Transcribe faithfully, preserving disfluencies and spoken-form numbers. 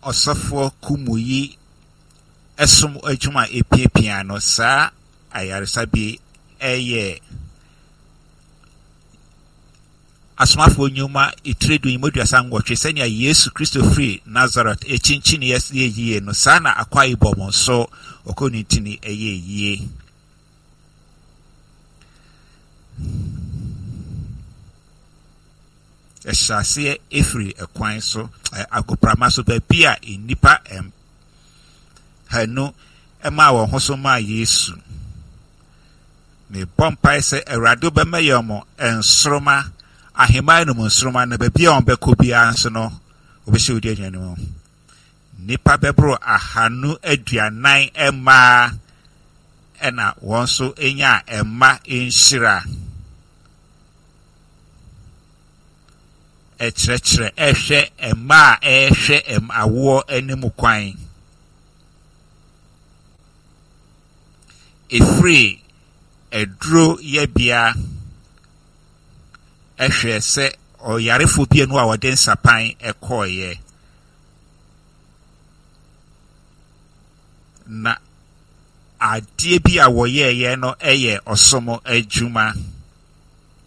Ɔsɔfoɔ Kumuyi ɛsom adwuma a epiapia no, saa ayaresabea ɛyɛ Asomafoɔ Nnwuma etire du mu aduasa nwɔtwe, sɛnea Yesu Kristo firi Nasaret ekyinkyini yɛ yie no, saa na Akwa Ibom nso ɔkɔ ne ntini ɛyɛ yie. Ɛhyɛ aseɛ efiri ɛkwan so, agoprama so, baabi a nnipa hanu ɛmaa wɔn ho so maa Yesu. Mebɔ mpae sɛ Awurade bɛma yɛn mo nsoroma, ahemman no mu nsoroma, na baabi a wɔn bɛkɔ biara nso no, wɔbɛhyɛ odi aduane mu. Nnipa bɛboro ahanu aduanan mmaa ɛna wɔn nso nya mma nhyira. Ɛkyerɛkyerɛ ɛhwɛ mmaa a ɛrehwɛ awoɔ anim kwan. Efiri aduro yɛbea ɛhwɛ sɛ ɔyarefo bi anu a wɔde nsapan ɛkɔɔeɛ. Na adeɛ bi a wɔyɛeɛ no yɛ ɔsom adwuma.